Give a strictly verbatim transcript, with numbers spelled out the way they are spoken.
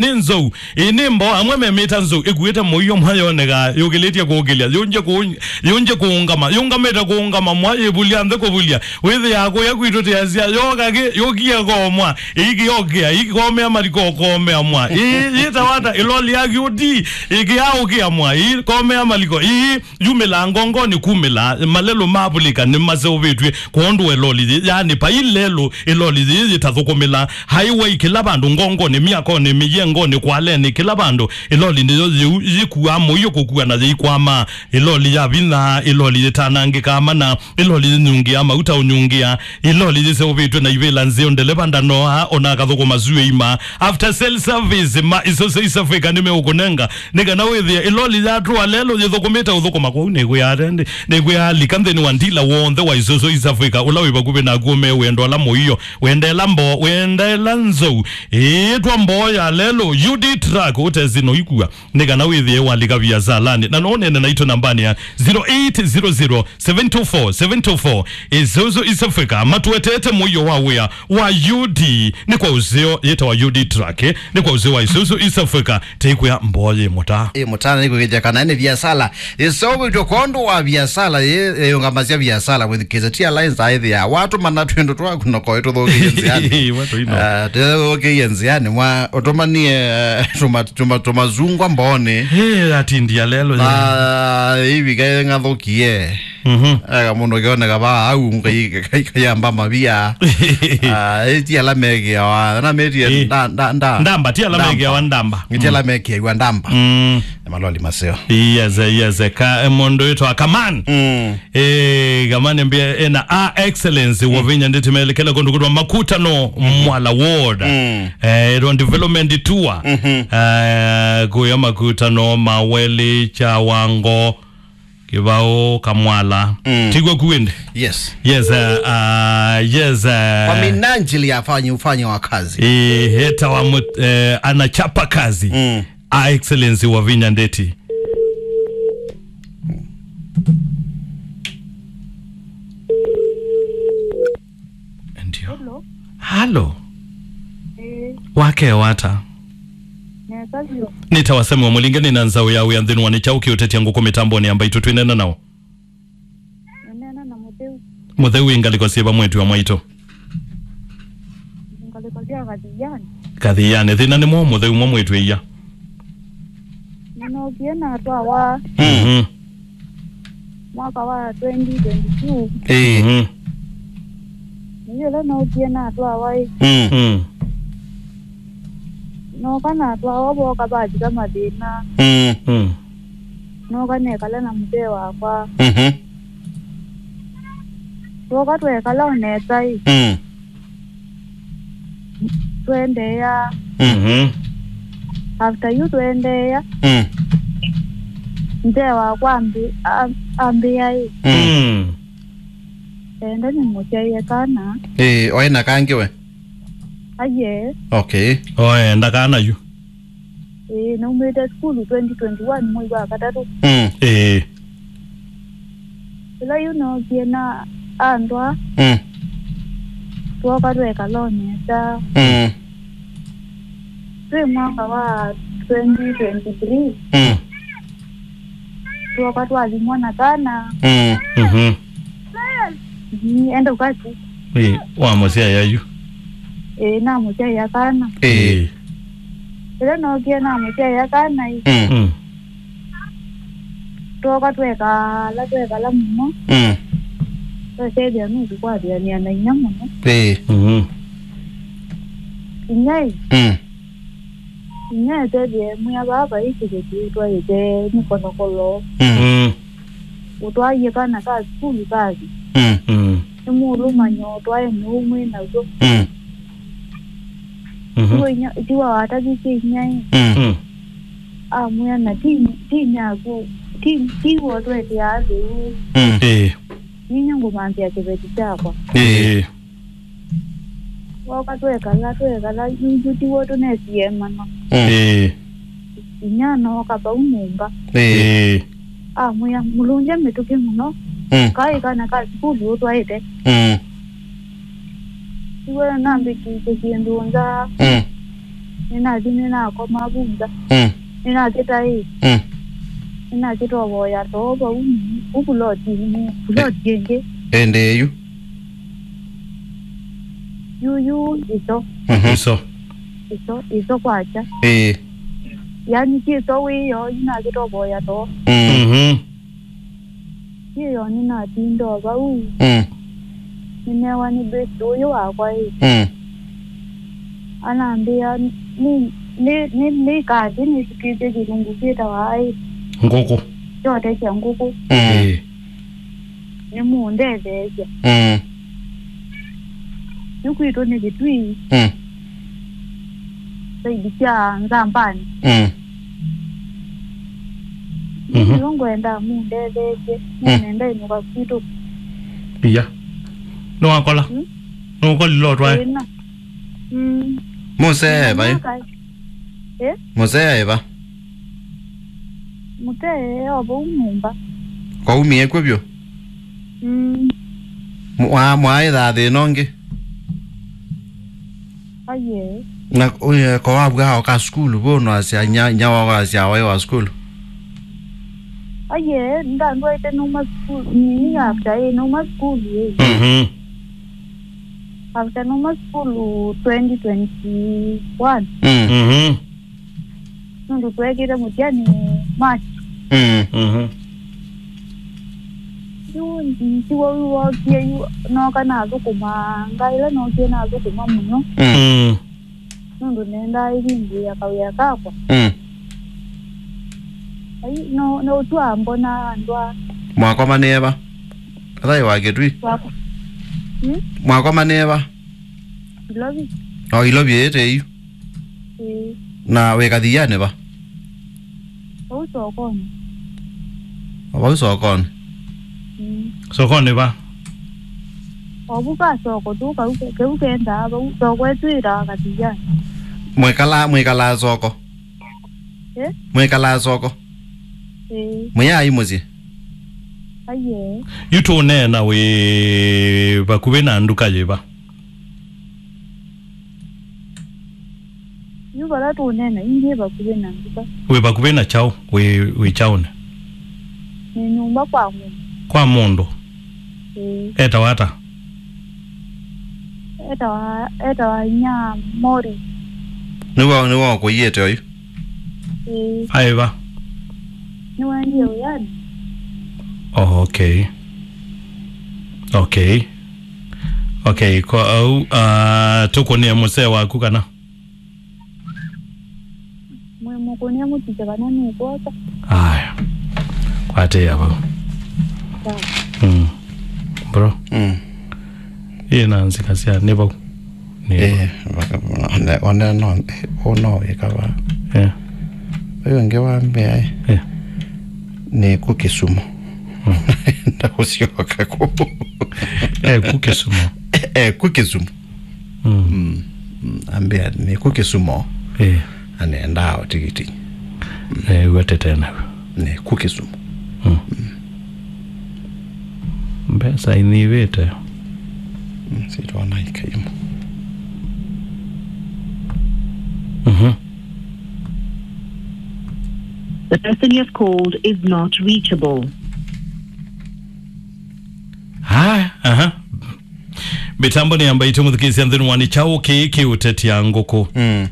nĩ nzou. Ĩĩ, nĩ mboo, amwe memĩta nzou, ĩkuĩte mũio mwa yoneka, yũkĩlĩtye kũũkĩlya, yũngye kũũ-, yũngye kũũngama, yũngamĩte kũũngama mwa, yĩvulya nthĩ kũvulya. Wĩthĩaa kũya kwitũ tĩasya, yoka kĩ, yũkie komwa, ĩikĩokĩa, ĩikomea maliko komea mwa. Ĩĩ, yĩtawa ata, ĩloli ya kĩũti, ĩkĩaũkĩa mwa, ĩikomea maliko, ĩĩ, yumĩlaa ngongonĩ kumĩla, malelũ mavulĩka nĩmaseũvĩtw'e kwondũ wa ĩloli yĩĩ, yaani, vai lelũ ĩloli yĩĩ yĩtathũkũmĩla. Highway kĩla vandũ, ngongonĩ, myakonĩ, mĩyengonĩ, kwalenĩ, kĩla vandũ, ĩloli nĩyo yĩu yĩkuaa mũio kũkua na yĩikwama. Ĩloli ya vinya, ĩloli yĩtanangĩkaa mana, ĩloli yĩnyungĩaa mauta ũnyungĩa, ĩloli yĩseũvĩtw'e na ivĩla nzeo, ndeleva ndanoa, ona akathũkũma syũa ima. After sale service, ma Isuzu East Africa nĩmeũkũnenga, nĩ kana wĩthĩe ĩloli yatũa lelũ yĩthũkũmĩte ũthũkũma. Kwoou nĩkwĩaa, nĩkwĩaa lika nthĩnĩ wa ndila w'onthe wa Isuzu East Africa, ũla wĩ vakuvĩ naku, ũmee wendo ala mũio, wendeela mboo, wendeela nzou, ĩĩtwa mboo ya lelũ, U D Truck, ũtesĩ noikua, nĩ kana wĩthĩe walika viasalanĩ. Na no ũneene naitũ nambanĩ ya zero eight zero zero seven two four seven two four. Isuzu East Africa matũetete mũio wa wĩa wa U D, nĩ kwa ũseo yĩtawa U D Truck, eh, nĩ kwa ũseo wa Isuzu East Africa, teikwĩa mboo yĩ mũta. Ĩ mũtana nĩ kwĩkĩthya kana nĩ viasala ĩseũvĩtw'e kwondũ wa viasala yĩ, ĩyũngamasya viasala with K Z T Alliance aĩthĩa watũmana twĩndũ twaku na koĩ tũthũkĩie nzĩanĩ. Watu ino. Ah, tũthũkĩie nzĩanĩ mwa ũtũmanie, eh, tũma-, tũma-, tũmazungwa mboonĩ. Hey, atindia lelo. Na ivika ng'athũkie. Mhm. Eka mũndũ kĩoneka vaa au, kai-, kai-, kayamba mavia. Ah, ĩ ti ala mekĩawa, na metie Eh. nda-, nda-, nda-, Ndamba, ti ala ndamba. Mekĩawa ndamba. Ti ala mekĩawa ndamba. Mm. Nĩ maloli maseo. Yes, yes, ka, eh, mũndũ wĩtwa Kaman. Mm. Eh, Kaman mbia ena a excellence, mm, Wavinya Ndeti melekela kũndũ kũtwa Makutano, mm, Mwala Ward. Mm. Eh, ĩtwa development tour. Mhm. Eh, kũya Makutano, Maweli, Chawango, Kĩvaũ, Kamwala. Mm. Tigwa kuende. Yes. Yes, uh, uh, yes, uh, kwa minajili ya afanye, ufanye wa kazi. Eh, heta wa mut-, eh, anachapa kazi. Mm. A Excellency Wavinya Ndeti. Ndio. Hello. Halo. Eh. Wakya ata? Nesa vyũ. Nĩtawa Samuel Mũlinge, nĩ na nzaũ ya wĩa nthĩnĩ wa nĩ kyaũ kĩũtetya ngũkũ mĩtambonĩ ya mbaitũ twĩnena nao. Nĩneena na Mũtheu. Mũtheu wĩ ngalĩko syĩva mwĩĩtu wa mwaitũ? Ngalĩko sya Kathiani. Kathiani. Thĩna nĩ mwaũ Mũtheu mo mwĩĩtu ĩia? Nĩnookie natwawa. Mhm. Mwaka wa twenty twenty-two. Ĩĩ. Mhm. Nĩ ĩla nookie natwawa ĩ. Mm. Mm. Nooka natwawa, vooka vathika mathĩna. Mm. Mm. Nooka nekala na mũtee wakwa. Mhm. Twooka twekala o nesa ĩ. Mm. Twendeea. Mm. Mhm. After yu twendeea. Mm. Nzee wakwa ambi-, am-, ambĩa ĩ. Mm. Mm. Enda nĩmũsyaĩe kana. Ĩĩ, oĩ na kangĩ we? Aye. Okay. Oe, ndakana yu. Ĩĩ, naumĩte sukulu twenty twenty-one mwei wa katatũ. Mm. Ĩĩ. Ĩla yu nookie na andwa, mm, twoka twekala o nesa. Mm. Twĩ mwaka wa twenty twenty-three, mm, twoka twathimwa na kana. Mm. Mhm. Ii, enda ũkasi. Ĩĩ, wamũsyaĩa yu? Ĩĩ, namũsyaĩa kana. Ĩĩ. Ĩĩ. Ĩla nookie namũsyaĩa kana ĩ. Mm. Mm. Twoka twekala, twekala mũno. Mm. Twasyaĩthĩa nũsũkwatĩanĩa na inya mũno. Ĩĩ. Mhm. Inya ĩ. Mm. Inya etethĩe mwĩa vaa vai kĩveti twaĩte nĩ kolokolo. Mm. Mm. Ũtwaie kana ka sukulu kathi. Mm. Mm. Nĩ mũũlũmanyo ũtwae nũũ mwĩ naw'o. Mm. Mhm. Tiwa inya, tiwa watavisye inya ĩ. Mm. Mm. Amwĩa na ti, ti nyaku, ti, ti wotweteaa lĩu. Mm. Ĩĩ. Ninyie ngũmanthĩa kĩveti kyakwa. Ĩĩ. Ĩĩ. Woka twekala, twekala, yu, yu tiw'o tũnesie mana. Mm. Ĩĩ. Inya nooka vau nyũmba. Ĩĩ. Ĩĩ. Amwĩa, "Mũlũngya mĩtũkĩ mũno." Mm. Kaĩ kana ka sukulu ũtwaĩte. Mm. Tiwe nambĩkĩte kĩndũ nza. Mm. Nĩnathi nĩnakoma vu nza. Mm. Nĩnakĩta ĩ. Mm. Nĩnakĩtovoya too vau, vu pulotinĩ, puloti ĩngĩ. Ĩndĩ yu. Yu, yu, ĩso. Mhm. Ĩso. Ĩso, ĩso kwakya. Ĩĩ. Yani, ti ĩso wĩyo, nĩnakĩtovoya too. Mm. Mhm. Yĩyo nĩnatinda o vau. Mm. Nĩnewa nĩ best ũyũ wakwa ĩ. Mm. Anambĩa nĩ, nĩ, nĩ, nĩikathi nĩsikĩtye kĩlungu kĩtawa ĩ. Ngũkũ. Kyotesya ngũkũ. Mm. Ĩĩ. Nĩmũndetheesya. Mm. Yu kwitũ nĩ Kĩtui. Mm. Saidi sya Nzambani. Mm. Mhm. Nĩyo ngwenda mũndetheesye. Mm. Nĩnenda ĩnũka kwitũ. Iya. Nĩwakola? Mm. Nũkolile ũtwae? Ĩna. Mm. Mũsee vai? Ĩ? Mũsee vai? Mũtee o vau nyũmba. Kwaumie kw'o vyũ? Mm. Mwa-, mwaĩthaa thĩna ũngĩ? Aye. Na, ũye, ko wavw'a oka sukulu, vo no asya nya, nya wao asya waĩ wa sukulu? Aye, ndandwaĩte numa sukulu, nini after ĩ, numa sukulu ĩ. Mhm. After numa sukulu twenty twenty-one. Mm. Mhm. Nũndũ tweekĩte mũtiani March. Mm. Mhm. Yu ntiwa yu wookie yu nooka nathũkũma, ngai ĩla nookie nathũkũma mũno. Mm. Mm. Nũndũ nendaa ĩvingũĩa kawĩa kakwa. Mm. Ai, no, no ũtwa mbona andũ a Mwakomanĩe va? Athaĩ wa Kĩtui. Wakwa. Hmm? Mwakomanĩe va? Ilovi. O Ilovi ĩte yu. Ĩĩ. Na wĩ kathianĩ va? Vau sokonĩ. O vau sokonĩ. Mm. Sokonĩ va? O vu ka soko tu kau ke-, keu kendaa vau. Soko ĩtu ĩtawa kathianĩ. Mwĩkalaa, mwĩkalaa soko? Eh? Mwĩkalaa soko? Ĩĩ. Mwĩyaai mũsyĩ? Aiee. Yu tũneena wĩ vakuvĩ na nduka yĩva? Yu vala tũũneena, ĩndĩ vakuvĩ na nduka. Wĩ vakuvĩ na kyaũ? Wĩ, wĩ kyaũnĩ? Nĩ nyũmba kwa mũndũ. Kwa mũndũ? Ĩĩ. Etawa ata? Etawa, etawa inya Mori. Nĩwe, nĩwe ũkũiĩte oyu? Ĩĩ. Aĩ va? Nĩwendie wĩanĩ. Oh, okay. Okay. Okay, kwa au, ah, tũkũnĩe mũsee waku kana? Mwĩmũkũnĩa mũtikye kana nĩkwosa. Aya. Kwatĩĩa vau. Sawa. Mm. Bro. Mm. Ĩ na nzika sya nĩ vau. Nĩ vau. Eh, vaka-, one, one no, ũno wĩka va. Eh. Ũyũ ũngĩ wa mbea, eh. Eh. Nĩ kũ Kĩsumo. Mm. Ndakũsyoka kũ. Eh, kũ Kĩsumo. Eh, kũ Kĩsumo. Mm. Mm, mm, ambĩa nĩ kũ Kĩsumo. Eh. Anendaa o tikiti. Eh, wetete nawe. Nĩ kũ Kĩsumo. Mm. Mm. Mbesa inivĩte. Mm, sitwana ikaimu. Mhm. The person you have called is not reachable. Haya, aha. Mĩtambo nĩ yamba itũmũthikĩĩsya nthĩnĩ wa nĩ kyaũ kĩĩ kĩũtetya ngũkũ. Mm.